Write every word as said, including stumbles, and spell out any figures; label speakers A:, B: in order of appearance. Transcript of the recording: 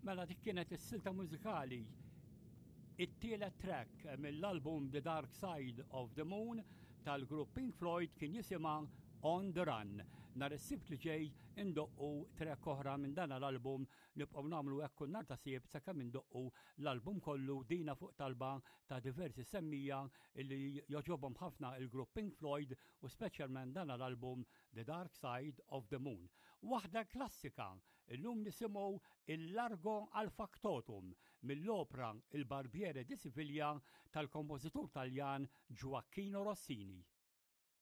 A: Mela dik kienet is-silta mużikali it-tielet track mill-album The Dark Side of the Moon tal-grupp Pink Floyd kien jisimha On the Run. Nhar is-Sibt li ġej indoqqu track oħra minn dan l-album nibqgħu nagħmlu hekk kull nhar ta' Sibt sakemm indoqqu l-album kollu dina fuq talba ta' diversi semmiegħa illi jogħġobhom ħafna il-grupp Pink Floyd u speċjalment dan l-album The Dark Side of the Moon. Waħda klassika, illum nisimgħu il-Largo al Factotum mill-opra Il Barbiere di Siviglia tal-kompożitur Taljan Gioacchino Rossini.